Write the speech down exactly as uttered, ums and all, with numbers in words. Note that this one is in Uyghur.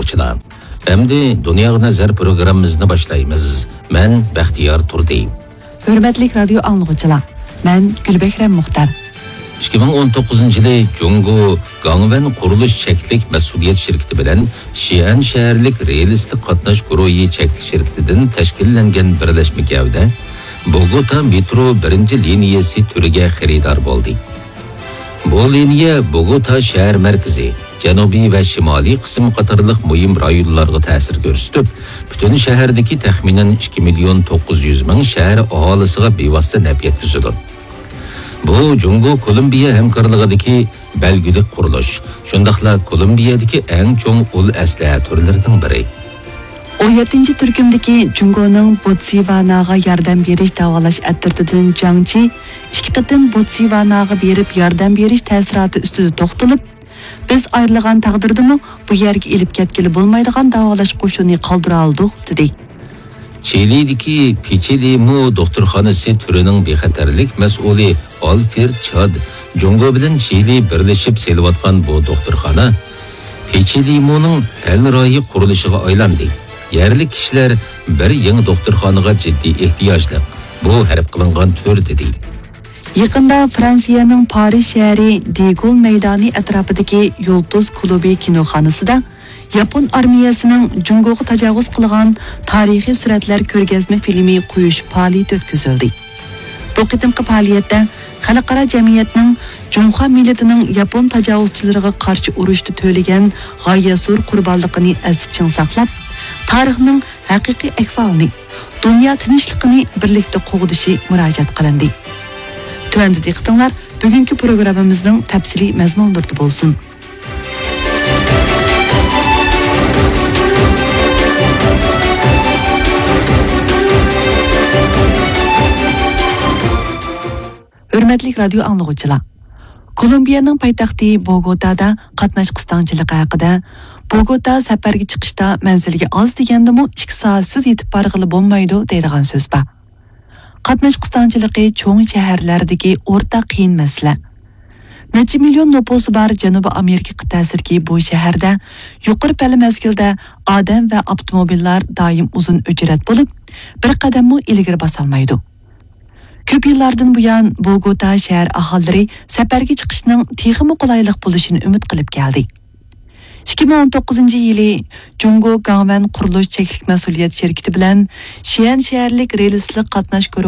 ئاڭلىغۇچىلار، ئەمدى دۇنياغا نەزەر پروگراممىمىزنى باشلايمىز. مەن بەختىيار تۇردى. ھۆرمەتلىك رادىيو ئاڭلىغۇچىلار، مەن گۈلبەھرەم مۇختار. ئىككى مىڭ ئون توققۇزىنچى يىلى جۇڭگو گاڭۋەن قۇرۇلۇش چەكلىك مەسئۇلىيەت شىركىتى بىلەن شىئەن شەھەرلىك رېلىسلىق قاتناش گۇرۇھى چەكلىك شىركىتىدىن تەشكىللەنگەن بىرلەشمە گەۋدە بوگوتا مېترو بىرىنچى لىنىيەسى تۈرىگە خېرىدار بولدى. بۇ لىنىيە بوگوتا شەھەر مەركىزى، جەنۇبىي ۋە شىمالىي قىسىم قاتارلىق مۇھىم رايونلارغا تەسىر كۆرسىتىپ، پۈتۈن شەھەردىكى تەخمىنەن ئىككى مىليون توققۇز يۈز مىڭ شەھەر ئاھالىسىغا بىۋاسىتە نەپ يەتكۈزىدۇ. بۇ جۇڭگو كولومبىيە ھەمكارلىقىدىكى بەلگىلىك قۇرۇلۇش، شۇنداقلا كولومبىيەدىكى ئەڭ چوڭ ئۇل ئەسلىھە تۈرلىرىنىڭ بىرى. ئون يەتتىنچى تۈركۈمدىكى جۇڭگونىڭ بوتسۋاناغا ياردەم بېرىش داۋالاش ئەترىتىدىن جاڭ چى ئىككى قېتىم بوتسۋاناغا بېرىپ ياردەم بېرىش تەسىراتى ئۈستىدە توختىلىپ، بىز ئايرىلغان تەقدىردىمۇ بۇ يەرگە ئېلىپ كەتكىلى بولمايدىغان داۋالاش قوشۇنى قالدۇرالىدۇق، دېدى. چىلىدىكى پىچىلىمو دوختۇرخانىسى تۈرىنىڭ بىخەتەرلىك مەسئۇلى ئالفرېد چاد جۇڭگو بىلەن چىلى بىرلىشىپ سېلىۋاتقان بۇ دوختۇرخانا پىچىلىمونىڭ ھەمراھى قۇرۇلۇشىغا ئايلاندى. يەرلىك كىشىلەر بىر يېڭى دوختۇرخانىغا جىددىي ئېھتىياجلىق. بۇ ھەرپ قىلىنغان تۈر، دېدى. يېقىندا فرانسىيەنىڭ پارىژ شەھىرى دېگول مەيدانى ئەتراپىدىكى يۇلتۇز كۇلۇبى كىنوخانىسىدا ياپون ئارمىيەسىنىڭ جۇڭگوغا تاجاۋۇز قىلغان تارىخىي سۈرەتلەر كۆرگەزمە فىلىمى قويۇش پائالىيىتى ئۆتكۈزۈلدى. بۇ قېتىمقى پائالىيەتتە خەلقئارا جەمئىيەتنىڭ جۇڭخۇا مىللىتىنىڭ ياپون تاجاۋۇزچىلىرىغا قارشى ئۇرۇشتا تۆلىگەن غايەت زور قۇربانلىقىنى ئەستە چىڭ ساقلاپ، تارىخنىڭ ھەقىقىي ئەھۋالىنى، دۇنيا تىنچلىقىنى بىرلىكتە قوغدىشى مۇراجىئەت قىلىندى. تۆۋەندە دىققىتىڭلار بۈگۈنكى پروگراممىمىزنىڭ تەپسىلىي مەزمۇنلىرىدا بولسۇن. ھۆرمەتلىك رادىيو ئاڭلىغۇچىلار! كولومبىيەنىڭ پايتەختى بوگوتادا قاتناش قىستاڭچىلىقى ھەققىدە، بوگوتا سەپەرگە چىقىشتا مەنزىلگە ئاز دېگەندىمۇ ئىككى سائەتسىز يېتىپ بارغىلى بولمايدۇ دەيدىغان سۆز بار. قاتناش قىستاڭچىلىقى چوڭ شەھەرلەردىكى ئورتاق قىيىن مەسىلە. نەچچە مىليون نوپۇسى بار جەنۇبىي ئامېرىكا قىتئەسىدىكى بۇ شەھەردە يۇقىرى پەللە مەزگىلدە ئادەم ۋە ئاپتوموبىللار دائىم ئۇزۇن ئۆچرەت بولۇپ، بىر قەدەممۇ ئىلگىرى باسالمايدۇ. كۆپ يىللاردىن بۇيان بوگوتا شەھەر ئاھالىلىرى سەپەرگە چىقىشنىڭ تېخىمۇ قولايلىق بولۇشىنى ئۈمىد قىلىپ كەلدى. ئىككى مىڭ ئون توققۇزىنچى يىلى جۇڭگو گاڭۋەن قۇرۇلۇش چەكلىك مەسئۇلىيەت شىركىتى بىلەن شيەن شەھەرلىك رېلىسلىق قاتناش